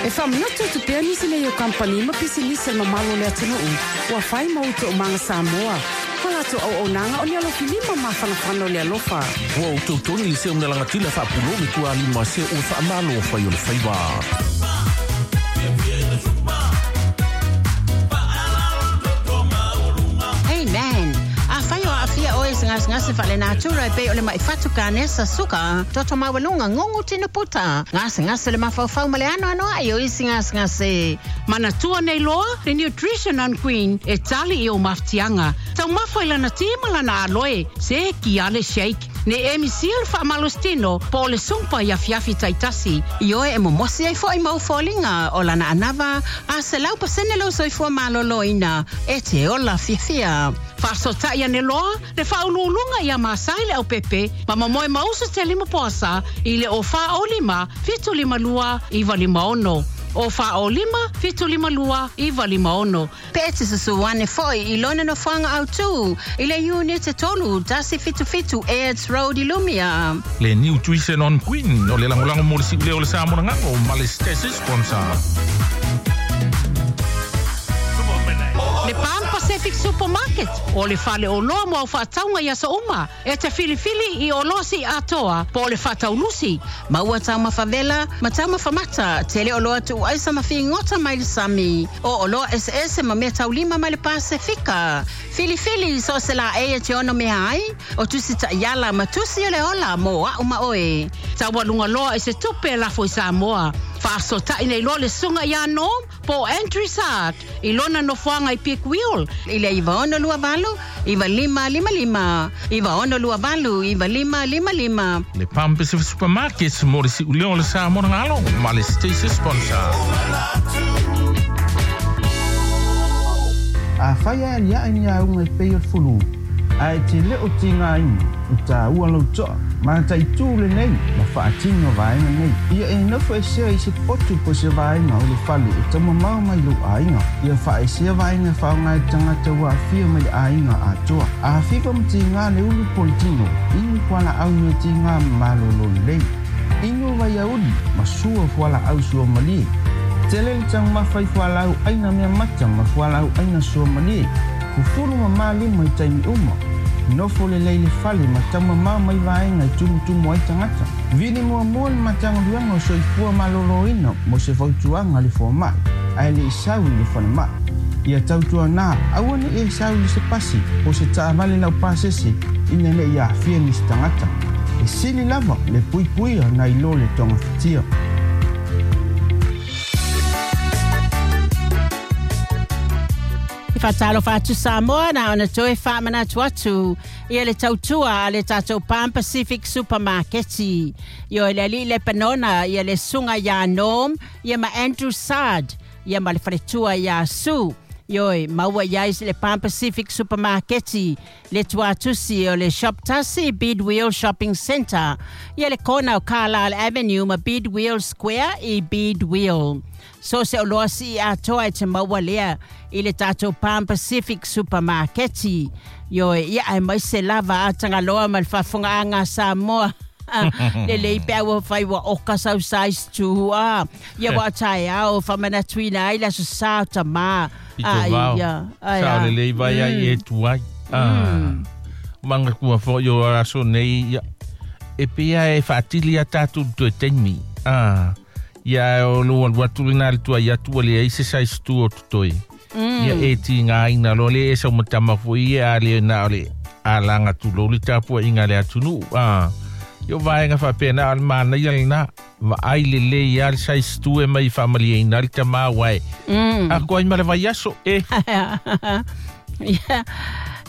E faamanatu atu pea nisi nei o kamupani ma pisinisi a le mamalu o le atunuu ua fai ma ou toomaga Samoa. Ma latou auaunaga o ni alofilima mafanafana o le alofa. Ua ou tautogi le seu nalagatila faapulo le tualima se ua faamalo fai o le faiva. Hey man, afai o aafia oe i se gasegase faalenatura e pei o le ma'i fatu kanesa, suka, toto maualuga, gugu tino puta, gasegase o le mafaufau ma le anoanoai o isi gasegase. Manatua nei loa le Nutrition on Queen e tali i ou mafatiaga. Taumafa i lana ti ma lana aloe, se kia le shake. Ne emi sia le faamalositino po o le sumpa i afiafi taitasi. Ioe e momosi ai fo'i mau foliga o lana anava a 100% lou soifua malōlōina e te ola fiafia. Faafesootai ane loa le faauluuluga ia Masai le Aupepe ma momoe mausu telima poasa i le 0 4 0 5 7 5 2 9 5 6. 0 4 0 5 7 5 2 9 5 6. Pe e te susu ane fo'i i lona nofoaga autū i le Iunite 3 177 Airds Road i Lumia. Le Nutrition on Queen o le lagolago mo le siuleo o le sa monagago ma le Stasi sponsor. Le Pan Pacific Supermarket o le fale oloa mo au faatauga i aso uma e te filifili i oloa siiatoa po o le faataulusi. Maua taumafa vela ma taumafa mata, tele oloa tuuaisa ma figota mai le sami. O oloa eseese ma mea taulima mai le Pasefika. Filifili so o se laei e te ono mea ai, o tusi taiala ma tusi o le ola mo au ma oe. Taualuga loa i se tupe e lafo i Samoa. Faafesootai nei loa le susuga ia Norm po o Andrew Sart i lona nofoaga i Peak Wheel. I le 9628 9555, 9628 9555. Le Pan Pacific Supermarket mo le siuleo o le sa monagalo ma le Stasi sponsor. Afai ae aliae ni auga e pei o le fulu, ae te le o tigaina, e taua lou toa, mataitū lenei ma faatino vaega nei. Ia e nofo esea i se potu po o se vaega o le fale e taumamao mai lou aiga. Ia faaesea vaega e faaaoga e le tagata ua aafia mai le aiga atoa. A fiva ma tiga le ulu po o le tino, inu fualaau meatiga ma malōlō lelei. Inu vaiauli ma sua fualaau suamalie. Tele le taumafa i fualaau aina mea mata ma fualaau aina suamalie. Fufulu ma malima i taimi uma. Nofo lelei le fale ma taumamao mai vaega e tumutumu ai tagata. Vili muamua le Matagaluega o Soifua Malōlōina mo se fautuaga a le fomai, ae le i sau i le falemai. Ia tautuanā aua ne i e sau i se pasi po o se taavale laupasese ina ne i aafia nisi tagata. E sili lava le puipuia nai lo le togafitia. E faatalofa atu Samoa na ona toe faamanatu atu ia le tautua a le tatou Pan Pacific Supermarket. Ioe le alii Lepanona ia le susuga ia Norm ia ma Andrew Sard ia ma le faletua ia Sue. Ioe, maua i ai le Pan Pacific Supermarket le tuatusi o le Shop 1 Bidwell Shopping Centre ia le kona o Carlisle Avenue ma Bidwell Square i Bidwell. So se oloa sii atoa e te maua lea i le tatou Pan Pacific Supermarket. Ioe, ia aemaise lava a Tagaloa ma le faafofogaaga a Samoa. Lelei pe a ua fai ua oka sau size 2 a. Ia ua o taeao faamanatuina ai le aso sa o tamā. I tō vao. Ai, Sao le lei vai ai e tu ai. Ah. Manga kua fo i o aso nei ia. E pea e whaatili a tātou toe taimi. Ah. Ia o lo alu atu lena le tuai atu ua leai se size 2 o totoe. Ia e tigaina loa le e sau matama foi ia a le na o le alaga tulou le tapuaiga a le atunuu. Ah. Ia o vaega faapena o le manaia lena. Vaai lelei lava le size 2 e mai faamalieina ai le tamā uae. Ako ai ma le vaiaso e. Ia,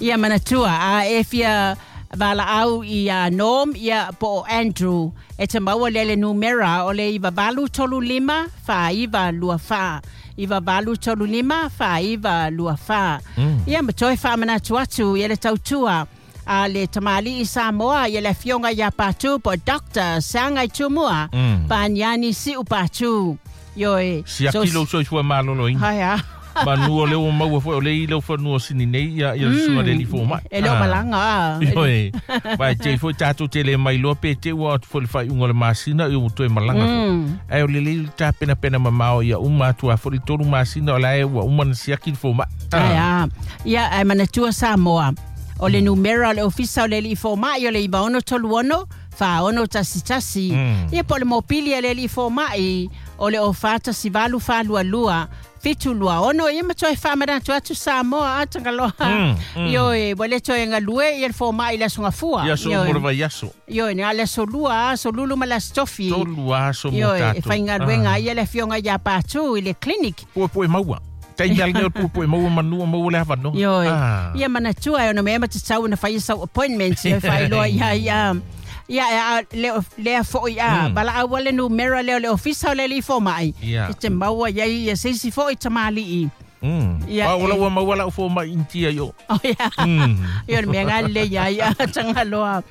ia manatua, a e fia valaau ia Norm ia po o Andrew e te maua lea le numera o le 9835 4924. 9835 4924. Ia ma toe faamanatu atu ia le tautua a le tamalii Samoa ia le afioga ia Patu po o Dr. Sagai Tumua Paniani Siu Patu. Ioe. Siaki lou soifua malōlōina. Hai a. Manu o le ua maua foi o le i lau fanua sini nei ia ia susuga le alii fomai. E le o malaga a. Ioe. Vai te foi tātou te le mai loa pe te ua atu foi le faaiuga o le masina ia ua toe malaga foi. Ae o lelei le tapenapena mamao ia uma atu a foi le 3 masina o la e ua uma na siaki le fomai. Ae a. Ia ae manatua Samoa. O le numera o le ofisa o le alii fomai o le 9636 4611. Ia po o le mopili a le alii fomai o le 0418 422 726. Ia ma toe faamanatu atu Samoa a Tangaloa. Ioe, ua le toe galue ia le fomai i le aso gafua. Ia aso mo le vaiaso. Ioe, na le aso lua, aso lulu ma le aso tofi. Tolu aso mo Ioe, e tātou. faigaluega ai ia le afioga ia Patu i le clinic. Puepue maua. Taimi ale nei o le puepue maua manu o maua le avanoa. Ioe. Ia manatua e ona mea ma tatau ona fai sau appointment ia faailoa ia ia. Ia e a le lea foi a valaau le numera lea o le ofisa o le alii fomai. E te maua iai ia se isi foi tamalii. Ia, Ah, ua maua lau fomai India i o. Oh, ia. Ia, o le mea ngā le ia, ia, Tangaloa.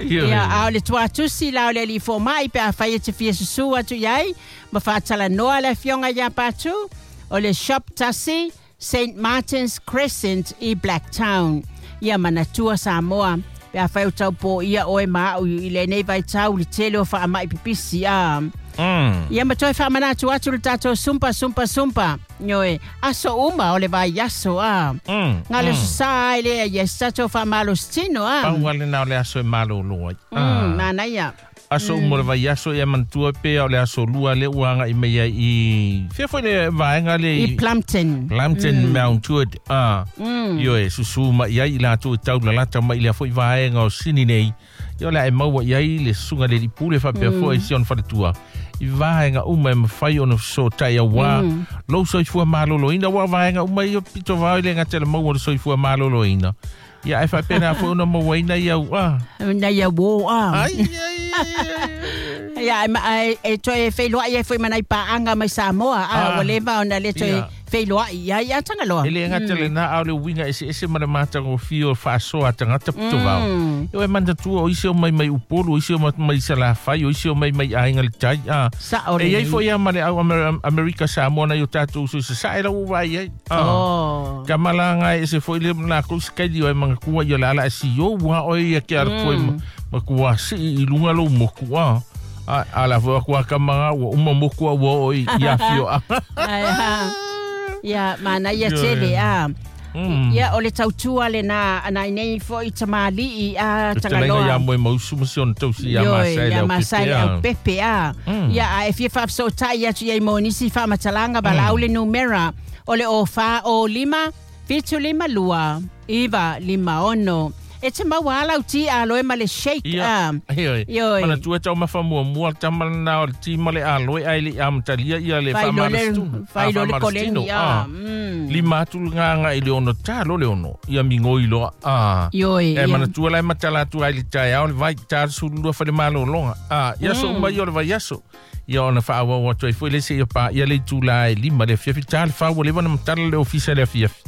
Ia, a o le tuatusi la o le alii fomai pe a fai e te fia susu atu iai, ma faatalanoa le afioga ia Patu, o le Shop Tasi, St. Martin's Crescent i Blacktown. Ia manatua Samoa, pe a fai o tau po ia oe ma au i lenei vaitau le tele o faamai pipisi a. Ia ma toe faamanatu atu le tātou sumpa sumpa sumpa. Ioe, aso uma o le vaiaso a. Ngā le sa ai lea ia se tātou faamalositino a. Pau ale na o le aso e malolo ai. Manaia. Aso uma o le vaiaso ia manatua pea o le aso lua le ua agai mai ai i fea foi le vaega le I Plumpton. Plumpton Mount Druitt. Ioe, susu mai ai i latou e taulalata mai i lea foi vaega o Sini nei. Ia o le a e maua i ai le susuga le alii pule faapea foi si ona faletua. I vaega uma e mafai ona fesoatai auā lou soifua maloloina ua vaega uma ia pito vao i le gata le maua o le soifua maloloina. Ia ae faapena foi ona mauaina ia au a. Na ia uō a. Ai, ai, ai. Ia, e toe feiloai ai foi ma nai paanga mai Samoa. A, ua leva ona le toe feiloai ia ia Tangaloa. E le gata lena a o le uiga eseese ma le matagofie o le faasoa a tagata pito vao. Ioe manatua o isi o mai mai Upolu, o isi o mai Salafai, o isi o mai mai aiga le tai. Sao E iai lelei. foi ia ma le au Amerika Samoa na i o tātou uso i sasae lau ua vaai ai. Ka malaga e ese foi le lakou sikaili o e mangatua ia le ala e si o ua oe ia ke ala foi ma kua sii i lunga lou moku a. A la foi aku a kamaga ua uma moku a ua o i afio a. Ai, ha. Ia, mana ia Ioe. tele a. Ia, o le tautua le na, nai nei foi tamalii a Te lenga Tangaloa. ia moe mausu ma si ona tausi ia Ioe, Masai le ia au Masai pepe le a. au pepe a. Ia, a e fia faafesootai atu iai mo nisi faamatalaga valaau le numera o le o fa o lima, 7 5 2, 9 5 6. E te maua ala au ti a loe ma le shake Ia, a. ioe. Ioe. Manatua tau mafamuamua le tama lena o le ti ma le aloe ae le i amatalia ia le Failo le, faamalositino. failo le Faamalositino, koleni a. Lima atu le gaga i le ono talo le ono. Ia migoi loa. Ioe, E ia. manatua la e matala atu ai le taeao le vai ta le sululua fale malologa. Ia so uma ia o le vaiaso. Ia ona faaauau atu ai foi le se ia pa ia le itulā e 5 le afiafi ta le fā ua leva ona matala le ofisa le afiafi.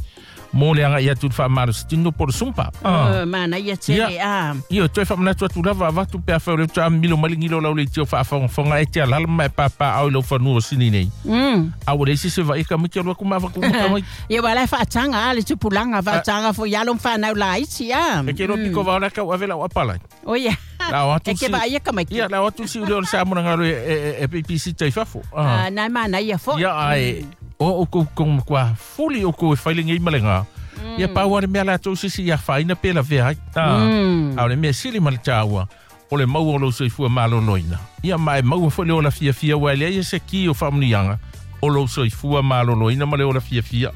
Mo le agai atu le faamalositino po le sumpa. Mana ia tele a. Ia, toe faamanatu atu lava avatu pe a fai o le uta milo mai le gilo lau le itio faafogafoga e te alala ma e pāpā au i lau fanua o sini nei. A ua leai se se vaai ka maiti alu aku ma avaku ma ka maiti. Ia ua la e faataga a le tupulaga faataga foi alo ma fanau laiti a. E ke loa piko vao la kau ave lau apalai. O ia. La o atu E ke si- vaai ka maiti. Ia, la o atu si ule o le Samoa na galo e PPC tai fafo. Nai mana ia foi. Ia ai o o kou kong kwa fuli o kou e fai le ngei ma le ngā. Ia pau ale mea latou sisi ia whaina pe la vea ai. A o le mea sili ma le tāua, o le maua o lou soifua maloloina. Ia ma e maua foi le ola fiafia ua e lea ia se ki o faamuniaga o lou soifua maloloina ma le ola fiafia.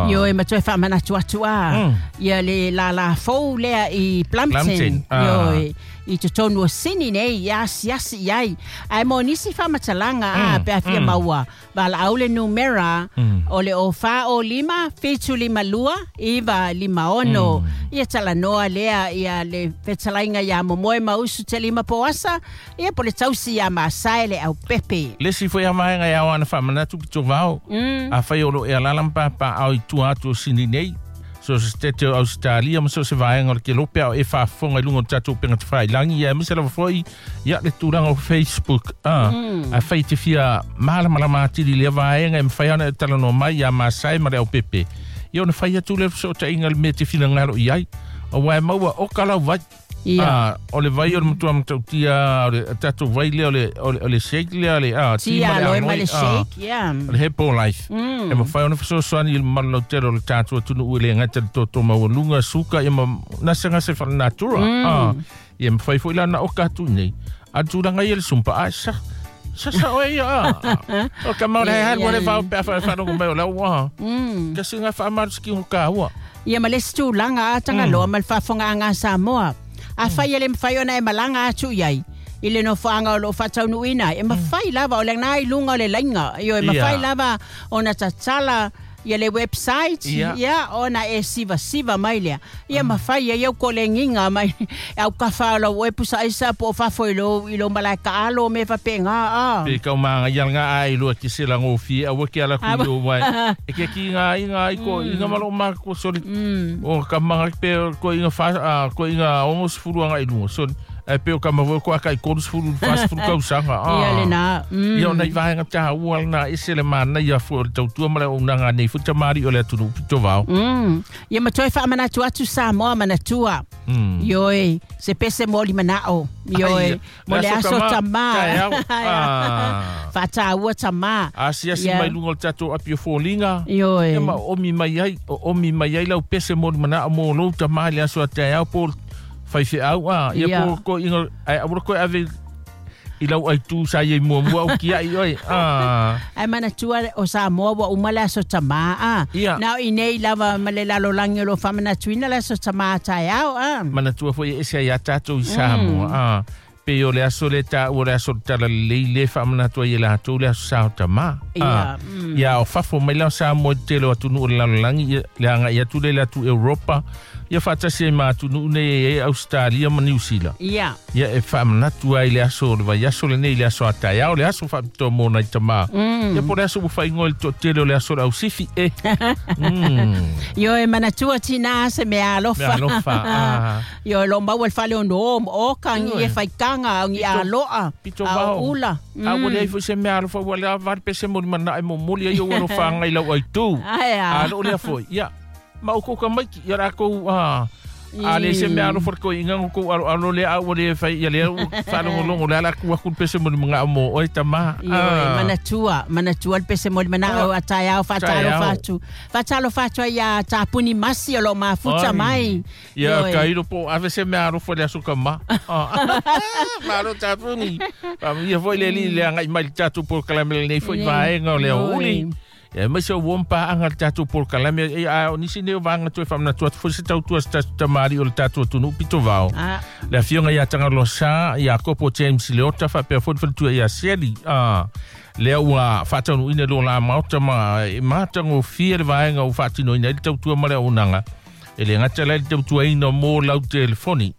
Ioe ma toe faamanatu atu a. Ia le lala fou lea i Plumpton. Plumpton, Ioe, i totonu o Sini nei, ia asiasi iai. Ae mo nisi faamatalaga a pe a fia maua. Valaau le numera o le o fa o lima, 752, 9 5 6. Ia talanoa lea ia le fetalaiga ia Momoe Mausu te lima poasa, ia po le tausi ia Masai le au pepe. Le si foi a vaega e ao ana faamanatu pito vao. A fai o lo e alala ma pāpā au i tua atu o Sini nei. So se tete o Australia ma so se vaega o le kelope ao e faafofoga i luga o le tatou upega tafailagi ia aemaise lava fo'i ia le tulaga o Facebook afai te fia malamalama atili i lea vaega e mafai ona e talanoa mai iā Masae ma le Aupepe ia ona fai atu lea fesootaiga le mea te finagalo i ai auā e maua oka lau vai. Ia. O le vai o le matua matautia o le tatou vai lea o le o le shake lea o le ti ma le aloe ma le shake, yeah. O le Herbalife. E mafai ona fesoasoani i le mamalu lautele o le tatou atunuu e le gata i le toto maualuga, suka ia ma gasegase faalenatura. Ia mafai foi la ona oka atu i inei. A o le tulaga ia i le sumpa, a sa sasa oe ia. O ka mau le halu le vao pe a wharongo mai o lau a. Kasi ngā whaamaruski o ka ua. Ia ma le isi tulaga a Tagaloa ma le faafofogaaga a Samoa. Afai e le mafai ona e malaga atu i ai i le nofoaga o lo o faataunuuina ai, e mafai lava, o lena i luga o le laina, ioe, mafai lava ona tatala ia le website, ia, ona e sivasiva mai lea. Ia mafai ai au kolegiga mai aukafa o lau oe pusa aisa po o fafo i lou, i lou malae taalo me faapena a. Pe kau māngai ala ngā ai lua ke se la ngōfie aua ke ala kui o wai. E ke ki ngā inga ai ko inga malo mā ko soli. O ka manga pe ko inga fa ko inga ongo sefulu anga i lunga soli. Ae pe o ka maua ko aka i 30 40 tausaga. Ia lena. Ia ona i vaega tāua lena ese le manaia foi o le tautua ma le auaunaga nei foi tamalii o le atunuu pito vao. Ia ma toe faamanatu atu Samoa manatua. Ioe, se pese mo limanao. Ioe, mo le aso tamā. Faataua tamā. Asiasi mai luga o le tatou api o foliga. Ioe. Ia ma oomi mai ai, oomi mai ai lau pese mo limanao mo lou tamā i le aso a taeao po o faifeau a. Ia po ko inga, ai aua koe ave i lau aitu sa iai muamua au kia'i oe. Ae manatua o Samoa ua uma le aso tamā a. Na o inei lava ma le lalolagi o lo o faamanatuina le aso tamā taeao a. Manatua foi e ese ai iā tatou i Samoa a. Pei o le aso lea taua o le aso o le talalelei lea e faamanatu ai e latou le aso sa o tamā. Ia o fafo mai la o Samoa i le tele o atunuu o le lalolagi ia le agai atu lea i le atu Europa ia faatasi ai ma atunuu nei e i ai Ausetalia ma Niu Sila. Ia. Ia e faamanatu ai le aso o le vaiaso lenei i le aso a taeao, le aso faapitoa mo nai tamā. Ia po o le aso ua faaigoa i le toatele o le aso o le ausifi e. Ioe manatua tinā se mea alofa. Mea alofa, a. Ioe lo maua le fale ono o mo oka ngi e faitaga au ngi aloa Pito a vao. o ula. A ua leai foi se mea alofa ua lea vale pe se moli manaʻe momoli ai ou alofa agai lau aitu. Ae a. A loo lea foi. Ia, ma o kou tamaiti, ia lakou a a le se mea alofa le koiinga o kou aloalo lea a ua le fai ia lea ua faalogologo le ala aku aku le pese moli manao mo oe tamā. Ioe, manatua, manatua le pese moli manao a taeao faatalofa atu. Faatalofa atu ai iā Tapuni Masi o lo o mafuta mai. Ia, ka ilo po o ave se mea alofa i le aso tamā. Malo Tapuni. Faamanuia foi le Alii i le agai mai i le tatou polokalame lenei foi vaega o le aoauli. Ia aemaise o ua paaga le tatou polokalame a o nisi nei o vaega toe faamanatu atu foi se tautua se tatou tamalii o le tatou atunuu pito vao. Le afioga ia Tagaloa Sa, ia Kopo James Leota faapea foi le faletua ia Seli. Lea ua faataunuuina i lo la maota ma e matagofie le vaega ua faatinoina ai le tautua ma le auaunaga. E le gata la i le tautuaina mo lau telefoni.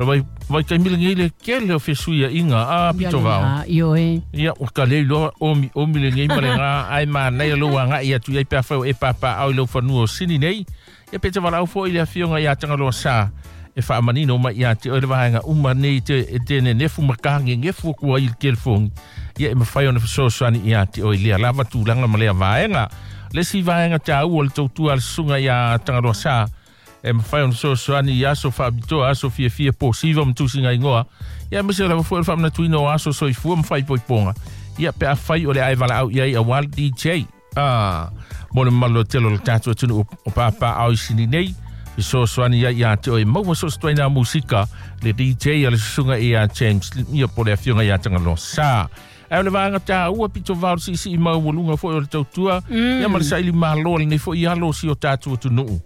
O le vaitaimi lenei le tele o fesuiaiga a pito vao. Ioe. Ia, ua ka le iloa omi omi lenei ma le gā ae manaia lou agai atu i ai pe afai o e papaaao i lou fanua o Sini nei. Ia pe te valaau foi i le afioga ia Tagaloa Sa e faamanino mai ia te oe le vaega uma nei te e te nenefu ma ka gegefu aku ai i le telefoni. Ia e mafai ona fesoasoani ia te oe i lea lava tulaga ma lea vaega. Le isi vaega taua o le tautua a le susuga ia Tagaloa Sa e mafai ona fesoasoani i aso faapitoa, aso fiafia, po siva ma tusiga igoa, ia aemaise lava foi o le faamanatuina o aso soifua ma faaipoipoga, ia pe afai o le a e valaau i ai aua le DJ. A, mo le mamalu lautele o le tatou atunuu o Pāpāao i Sini nei, fesoasoani ai ia te oe maua so o se ituaiga musika le DJ a le susuga ia James, ia po o le afioga ia Tagaloa Sa. Ae o le vaega taua pito vao le siisii maualuga foi o le tautua, ia ma le saili malo a lenei foi alo o si o tatou atunuu.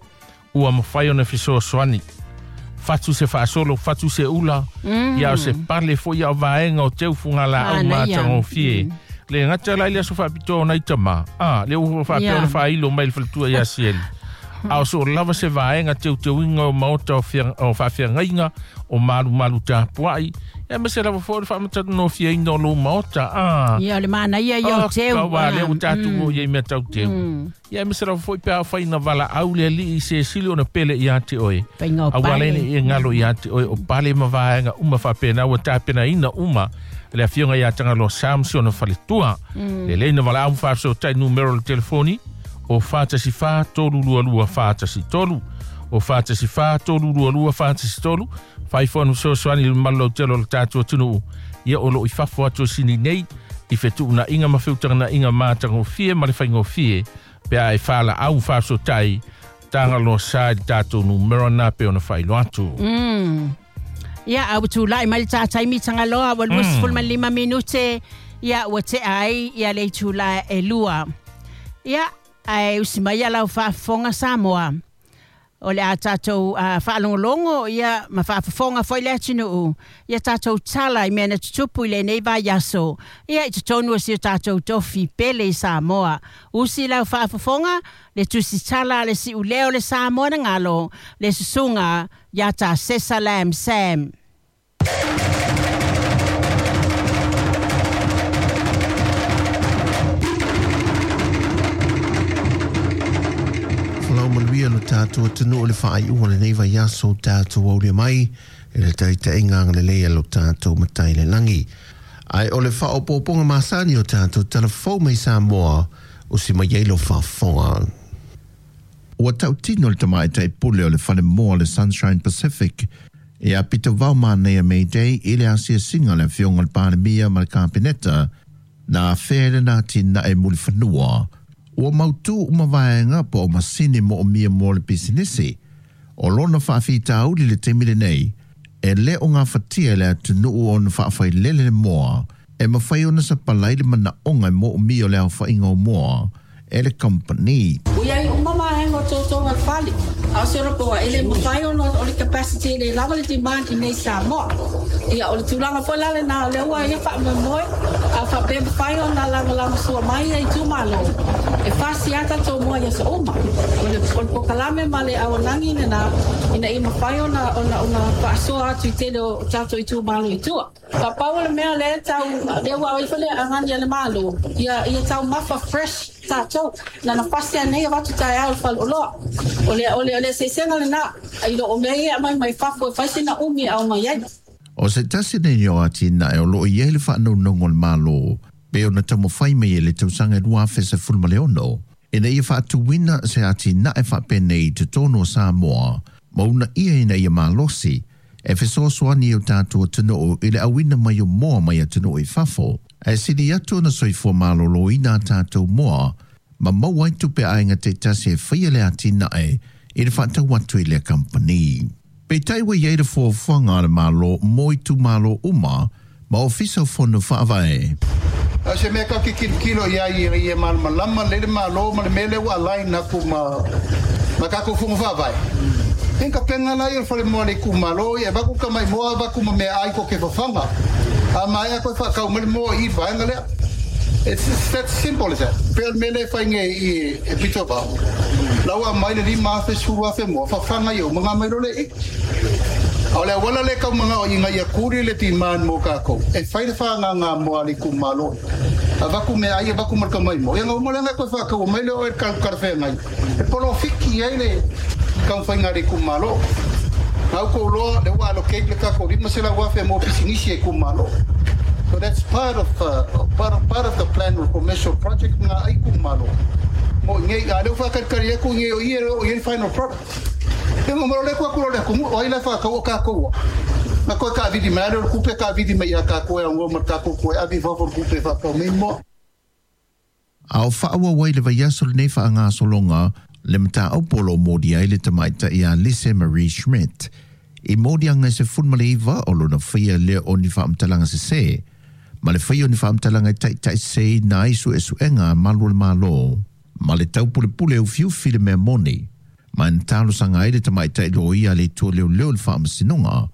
Ua mafai ona fesoasoani. Fatu se faasolo, fatu se ula, ia o se pale foi ia o vaega o teu fugalaau matagofie. Le gata la i le aso faapitoa o nai tamā, a, lea ua faapea ona faailo mai le faletua ia Sieli. A o so lava se vaega teuteuina o maota o faafeagaiga o malumalu tapuaʻi ia ma se lava foʻi le faamatagofieina o lou maota a Ia o le manaia ia o teu. Ua lea ua tatou oo i ai mea tauteu. Ia ma se lava foʻi pe a faina valaau le alii i se sili ona pele iā te oe. Faiga o Aua pale. le nei e galo iā te oe o pale ma vaega uma faapena ua tapenaina uma le afioga iā Tagaloa Sam si ona faletua. Lelei na valaau ma faafesootai numero o le telefoni o 414 322 413 o 414 322 413 fai fono fesoasoani i le mamalu lautele o le tatou atunuu ia o loo i fafo atu o sini nei i fetuunaiga ma feutaganaʻiga matagofie ma le faigofie pe a e falaau faafesootai Tagaloa Sa i le tatou numero na pe ona faailoa atu. Ia, a ua tulai mai le tataimi Tagaloa ua 25 minute. Ia, ua tea ai ia le itulā e 2. Ia, ae usi mai ia lau faafofoga Samoa. O le a tatou faalogologo ia ma faafofoga foi le atunuu. Ia tatou tala i mea na tutupu i lenei vaiaso. Ia i totonu o si o tatou tofi pele i Samoa. Usi lau faafofoga, le tusitala le siuleo le Samoa na galo, le susuga ia ta Sesa Lam Sam. Falau manuia lo tātou atunuu o le faaiuga o lenei vaiaso o tātou aulia mai e le taitaiga agalelei a lo tātou matai le lagi. Ae o le faaopoopoga masani o tātou talafou mai Samoa o si mai ai lo faafofoga. Ua tautino le tamaitai pule o le falemoa le Sunshine Pacific e a pito vau manaia May Day i le asiasiga le afioga o le Palemia ma le Kapeneta na afea le na atinae mulifanua. Ua mautū uma vaega po o masini moomia mo le pisinisi. O lona faafitauli le taimi lenei, e le o gafatia le atunuu ona faafailele le moa, e mafai ona sapalai le manaoga e moomia o le aofaiga o moa e le company. Ua iai uma vaega o toutou le fale. A o se ora e le mafai ona o le capacity e le lava le demand i nei Samoa. Ia o le tulaga foi la lena o lea ua ia faamoemoe a faapea mafai ona lagolagosoa mai ia itumalo. E fasi a tatou moa i aso uma. O le pokalame ma le auaunaga lena ina ia mafai ona faasoa atu i tele o tatou itumalo i tua. Papau o le mea lea tau lea ua ai foi le agani a le Malo. Ia taumafa fresh tatou. Na nafasi anei avatu taeao le faleoloa. O le eseesega lena i loo mea ia aumai mai fafo e fai sina umi e ao mai ai. O se tasi nei o atinae o loo i ai le faanaunaunga o le Malo pe ona taumafai mai e le tausaga e 2016 ina ia faatuina se atinae faapenei i totonu o Samoa ma una ia ina ia malosi e fesoasoani i o tatou atunuu i le auina mai o moa mai atunuu i fafo. Ae sili atu ona soifua malōlōina a tatou moa ma maua ai tupe aiga taitasi e faia le atinae i le faatau atu i lea kampani. Peitai ua iai le fuafuaga a le Malo mo itumalo uma ma ofisa o fono faavae. A se mea ka ke kilokilo ia i e malamalama le le Malo ma le mea lea ua align atu ma tatou fono faavae. E ka penga la ia le falemoa le itumalo ia e vaku ka mai moa vaku ma mea ai ko ke fafaga. A maea koe whaakau mai le moa i vaega lea. It's that simple as that. Pea le mea lea e whainge i e pito vao. Lau a mai le 5,000 10,000 moa, whawhanga i o mga mai role i. A o le awala le kau mga o inga ia kuri le demand mo kākou. E whai le whaanga ngā moa le itumalo. A vaku mea ai, a vaku marka mai mo. Ia ngā umale ngai koe whaakau mai le o e karwhea ngai. E polo fiki ai le kau whainga le itumalo. Ngau kou loa, le ua allocate le kākou 500,000 mo pisinisi e itumalo. So that's part of the plan of commercial project ngā ai kumalo. Mo ngai a leo whakarikari e ku ngai o ia o ia final product. E ngā maro le kua kuro le kumu o ai le whakau o kākou. Nā koe ka vidi mai, o kupe ka vidi mai a kākou e ngō ma kākou koe avi whawhor kupe whakau mai mo. A o whaawawai le vaiaso lenei faaagasologa le mataupu o loo moli ai le tamaitai ia Lise Marie Schmidt. I moliaga e 19 o lona faia lea o ni faamatalaga sesē. Ma le faia o ni faamatalaga e taʻitaʻiseseina ai suesuega a malu o le Mālō. Ma le taupulepule ufiufi le mea moni. Ma e na talosaga ai le tamaitai loia a le Atua leoleo le faamasinoga.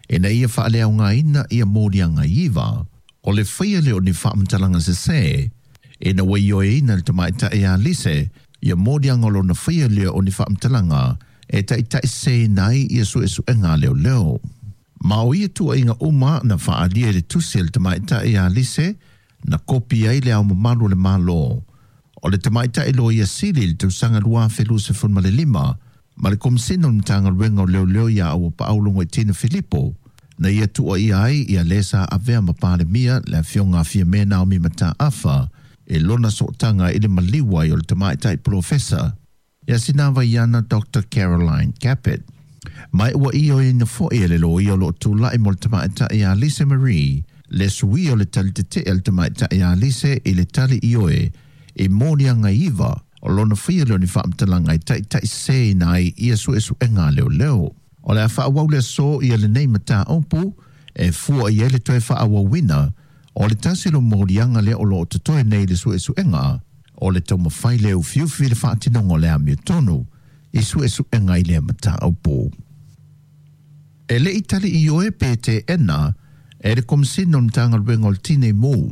Ina ia faaleaogaina ia moliaga iva. O le faia lea o ni faamatalaga sesē. Ina ua ioeina le tamaitai ia Lise Ia moliaga o lona faia lea o ni faamatalaga e taʻitaʻiseseina ai ia suʻesuʻega a leoleo. Ma o ia tuuaiga uma na faaalia i le tusi a le tamaitai ia Lise na kopi ai le Ao Mamalu o le Malo o le tamaitai Loia Sili i le tausaga 2025 ma le Komesina o le Matagaluega o Leoleo ia Auapaau Logoitino Filipo na ia tuuaia ai ia lē sa avea ma Palemia le afioga a Fiame Naomi Mataafa i lona sootaga i le maliu ai o le tamaitai polofesa ia Sinavaiana Dr Caroline Capet. Ma ua ioeina foi e le loia o loo tulaʻi mo le tamaitai ia Lise Marie le suia o le tali tetee a le tamaitai ia Lise i le tali ioe i moliaga 9 o lona faia lea o ni faamatalaga e taʻitaʻiseseina ai ia suʻesuʻega a leoleo. O le a faaauau le aso ia lenei mataupu e fua i ai le toe faaauauina o le tasi o moliaga lea o loo totoe nei le suʻesuʻega o le taumafai le ufiufi le faatinoga o le amiotonu i suʻesuʻega i lea mataupu. E leʻi tali ioe pe teʻena e le Komesina o le Matagaluega o le Tinei Mu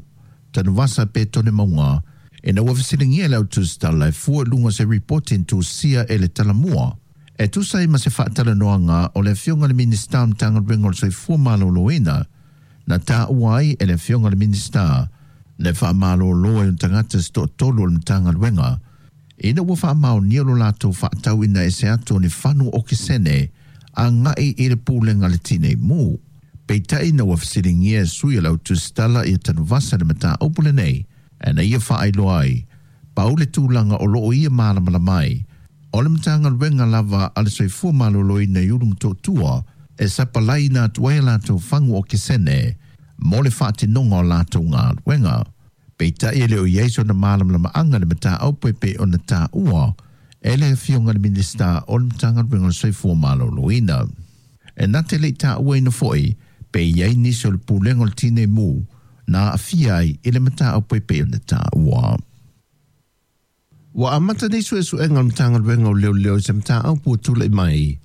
Tanuvasa pe Tone Mauga ina ua fesiligia e le autusitala e fua i luga o se ripoti na tusia e le Talamua e tusa ai ma se faatalanoaga o le afioga i le Minisita o le Matagaluega o le Soifua Maloloina na taua ai e le afioga i le Minisita le faamalōlō ai o tagata se toatolu o le Matagaluega ina ua faamaonia lo latou faatauina ese atu o ni fanu okesene agaʻi i le pulega a le Tinei Mu. Peitai ina ua fesiligia e sui o le autusitala ia Tanuvasa le mataupu lenei e na ia faailoa ai pau le tulaga o loo ia malamalama ai o le Matagaluega lava a le Soifua Maloloina i Ulu Motootua e sapalaiina atu ai a latou fagu okesene mo le faatinoga o latou galuega. Peitai e le o i ai sona malamalamaaga i le mataupu e pei ona taua e le afioga i le Minisita o le Matagaluega o le Soifua Maloloina. E na te leʻi taʻuaina foʻi pe i ai nisi o le pulega o le Tinei Mu na aafia ai i le mataupu e pei ona taua. Ua amata nei suʻesuʻega o le Matagaluega o Leoleo i se mataupu ua tulaʻi mai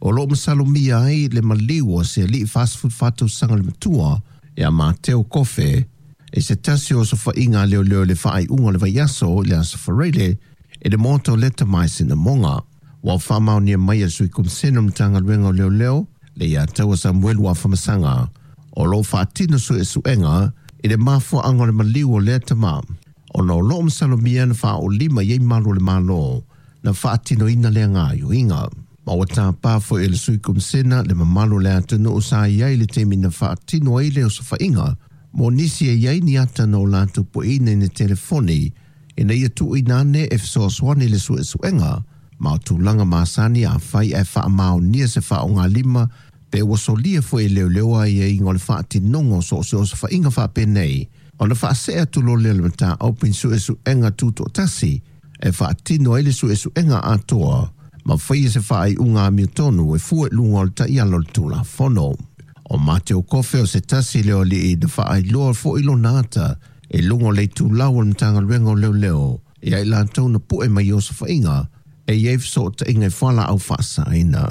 o loo masalomia ai le maliu o se aliʻi 44 tausaga le matua ia Mateo Kofe i se tasi o osofaiga a leoleo i le faaiuga o le vaiaso i le Aso Faraile i le maota o Leta mai Sinamoga. Ua faamaonia mai e le Sui Komisena o le Matagaluega o Leoleo le ia Taua Samuelu Afamasaga o loo faatino suʻesuʻega i le mafuaaga o le maliu o lea tama ona o loo masalomia na faaolima i ai malu o le Malo na faatinoina lea gaoioiga. Ma ua tapā foi e le Sui Komisena le mamalu o le atunuu sa i ai i le taimi na faatino ai le osofaiga mo nisi e i ai ni ata na o latou pueina i ni telefoni ina ia tuuina ane e fesoasoani i le suʻesuʻega ma o tulaga masani afai ae faamaonia se faaaogalima pe ua solia foi e leoleo aiaiga o le faatinoga o so o se osofaiga faapenei ona faasee atu loa lea o le mataupu i ni suʻesuʻega tutoʻatasi e faatino ai le suʻesuʻega atoa ma faia se faaiuga amiotonu e fua i luga o le taiala o le Tulafono. O Mateo Kofe o se tasi lea o alii na faailoa foʻi lona ata i luga o le itulau o le Matagaluega o Leoleo ia i latou na puʻe mai i osofaiga e i ai fesootaiga i fualaau faasaina.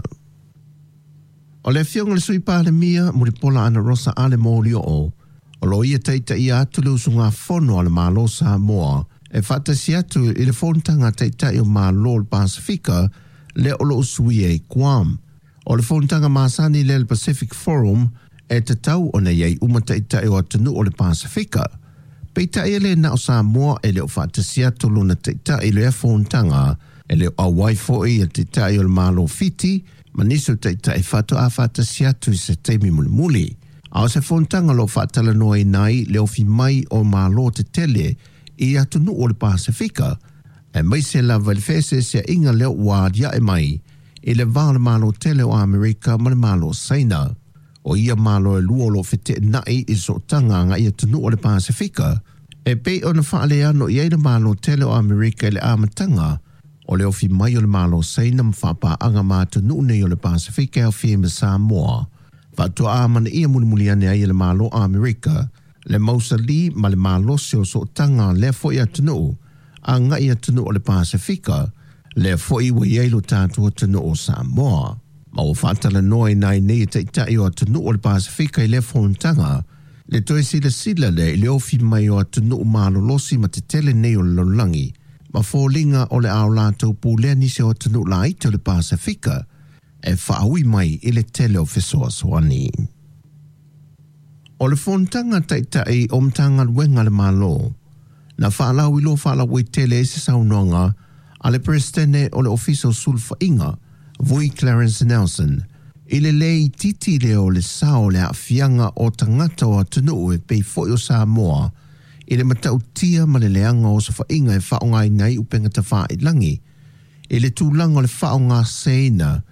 O le afioga i le Sui Palemia Mulipola Anarosa Ale Molioo o loo ia taitaia atu le usugafono a le Malo Samoa e faatasi atu i le fonotaga a Taitai o Malo o le Pasefika lea o loo usuia i Guam. O le fonotaga masani lea le Pacific Forum e tatau ona i ai uma taitai o atunuu o le Pasefika. Peitai e le na o Samoa e le o faatasi atu lona taitai i lea fonotaga e le o auai foʻi ia Taitai o le Malo Fiti ma nisi o taitai faatoa faatasi atu i se taimi mulimuli. A o se fonotaga o loo faatalanoaina ai le ofi mai o Malo tetele i atunuu o le Pasefika, aemaise lava i le feeseeseaiga lea ua aliae mai i le va o le Malo tele o Amerika ma le Malo o Saina. O ia Malo e lua o loo feteenai i sootaga agaʻi atunuu o le Pasefika e pei ona faaleano i ai le Malo tele o Amerika i le amataga o le ofi mai o le Malo o Saina ma faapaaga ma atunuu nei o le Pasefika e aofia ai ma Samoa. Faatoa amanaia mulimuli ane ai e le Malo o Amerika le mausalī ma le malosi o sootaga a lea foʻi atunuu agaʻi atunuu o le Pasefika lea foʻi ua i ai lo tatou atunuu o Samoa. Ma ua faatalanoaina ai nei e taitai o atunuu o le Pasefika i lea fonotaga le toe silasila lea i le ofi mai o atunuu malolosi ma tetele nei o le lalolagi ma foliga o le a o latou pulea nisi o atunuu laiti o le Pasefika e faaui mai i le tele o fesoasoani. O le fonotaga a Taitai o Matagaluega a le Malo na faalauiloa faalauaitele ai se saunoaga a le Peresetene o le Ofisa o Sulufaiga, Vui Clarence Nelson, i le lē itiiti lea o le sao o le aafiaga o tagata o atunuu e pei foi o Samoa i le matautia ma le leaga o osofaiga e faaaogaina ai upega tafailagi i le tulaga o le faaaogaseseina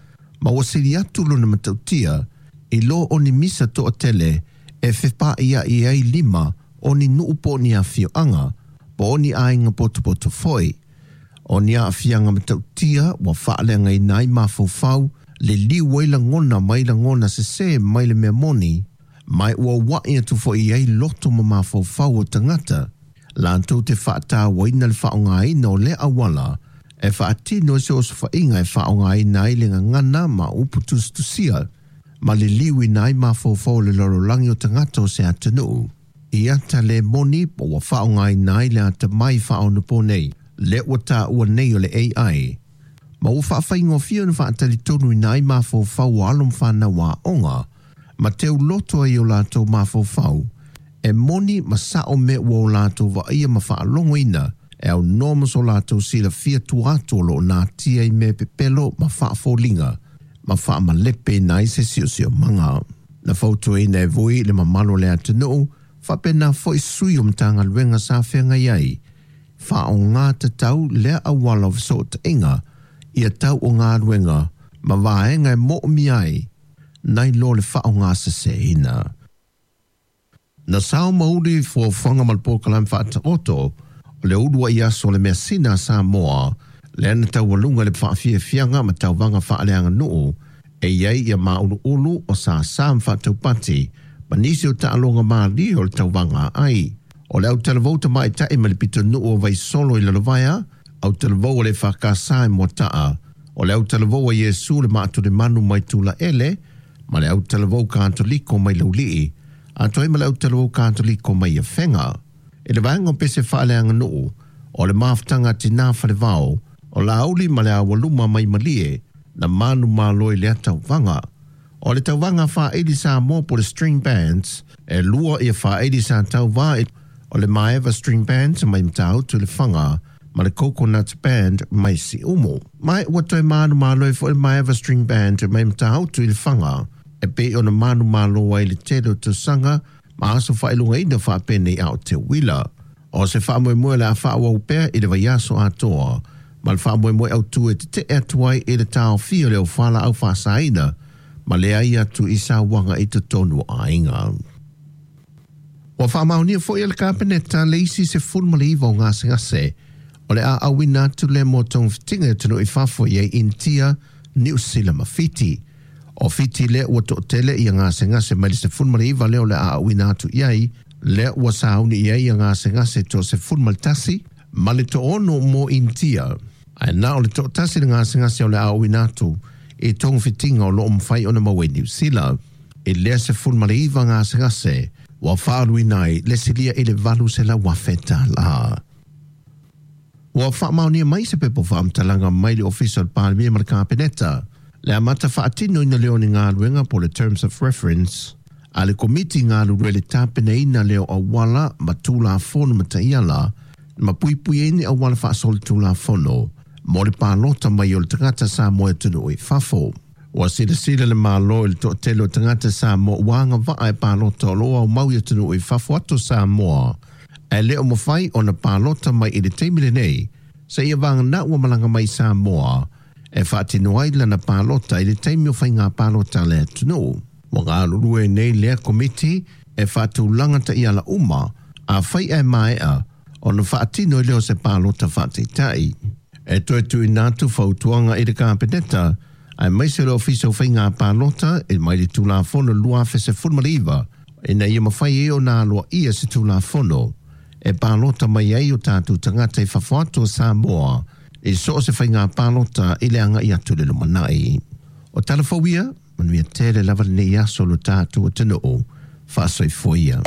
ma ua sili atu lona matautia i lo o ni misa toatele e fepaaiai ai lima o ni nuu po o ni afioaga po o ni aiga potopoto foi. O ni aafiaga matautia ua faaleagaina ai mafaufau, liliu ai lagona mai lagona sesē mai le mea moni, ma ua ua'i atu foi i ai loto ma mafaufau o tagata latou te faatauaina le faaaogaina o lea auala e faatino ai se osofaiga e faaaogaina ai le gagana ma upu tusitusia ma liliuina ai mafaufau o le lalolagi o tagata o se atunuu i ata le moni po ua faaaogaina ai le atamai faaonaponei lea ua taua nei o le AI ma ua faafaigofie ona faatalitonuina ai mafaufau o alo ma fanau aoga ma teuloto ai o latou mafaufau e moni ma sa'o mea ua o latou vaaia ma faalogoina e aunoa ma so latou silafia tua atu o loo natia i mea pepelo ma faafoliga ma faamalepeina ai se siosiomaga. Na fautuaina e Vui le mamalu o le atunuu faapena foi sui o Matagaluega sa feagai ai faaaogā tatau lea auala o fesootaiga ia tau o galuega ma vaega e moomia ai nai lo le faaaogaseseina. Na sao ma uli fuafuaga ma le polokalame faataoto o le uluai aso o le measina a Samoa lea na taualuga i le faafiafiaga ma tauvaga faaleaganuu e i ai ia māuluulu o sāsā ma faataupati ma nisi o taaloga malie o le tauvaga aai. O le autalavou tamaitai mai le pitonuu o Vaisolo i Lalovaea, autalavou a le EFKS i Moataa, o le autalavou a Iesu le Maatulemanu mai Tulaele, ma le autalavou Katoliko mai Laulii, atoa ai ma le autalavou Katoliko mai Afega. I le vaega o pese faaleaganuu, o le mafutaga a Tinā Falevao, o Laauli ma le Aualuma mai Malie, na manumalo i lea tauvaga. O le tauvaga faaili Samoa po o le String Bands, e lua ia faaili sa tauvā o le Maeva String Band mai Matautu i Lefaga ma le Coconut Band mai Siumu. Ma ua toe manumalo ai foi le Maeva String Band mai Matautu i Lefaga e pei ona manumalo ai i le tele o tausaga ma aso faailogaina faapenei a o te uila. O se faamoemoe o le a faaauau pea i le vaiaso atoa ma le faamoemoe autū e tete'e atu ai i le taofia o le au faasaina ma leai atu i sauaga i totonu o aiga. Ua faamaonia foi e le Kapeneta le isi 19 o gasegase o le a auina atu lea mo togafitiga i atunuu i fafo i ai Initia, Niu Sila ma Fiti. O Fiti lea ua toatele ia gasegase mai le 19 lea o le a auina atu i ai, lea ua sauni i ai ia gasegase toa 11 ma le 60 mo Initia, ae na o le toatasi le gasegase o le a auina atu i togafitiga o loo mafai ona maua i Niu Sila. I lea 19 gasegase ua faaluina ai le silia i le $800,000 tālā. Ua faamaonia mai se pepa faamatalaga mai le Ofisa o le Palemia ma le Kapeneta le amata faatinoina lea o ni galuega po o le Terms of Reference a le Komiti galulue i le tapenaina lea o auala ma Tulafono ma taiala ma puipui ai ni auala faasolitulafono mo le palota mai o le tagata Samoa i atunuu i fafo. Ua silasila le Malo i le toatele o tagata Samoa ua agavaa e palota o lo o aumau i atunuu i fafo atu o Samoa ae le o mafai ona palota mai i le taimi lenei seia vagana ua malaga mai i Samoa e faatino ai lana palota i le taimi o faiga palota a le atunuu. Ua galulue nei lea Komiti e faatulaga taiala uma afai ae maea ona faatino ai lea o se palota faataitai. E toe tuuina atu fautuaga i le Kapeneta aemaise o le Ofisa o Faiga Palota e mai le Tulafono 2019 ina ia mafai ai ona aloaia se Tulafono e palota mai ai o tatou tagata i fafo atu o Samoa i so o se faiga palota i le agai atu i le lumanai. O tala fou ia, manuia tele lava lenei aso lo tatou atunuu. Faasoifua ia.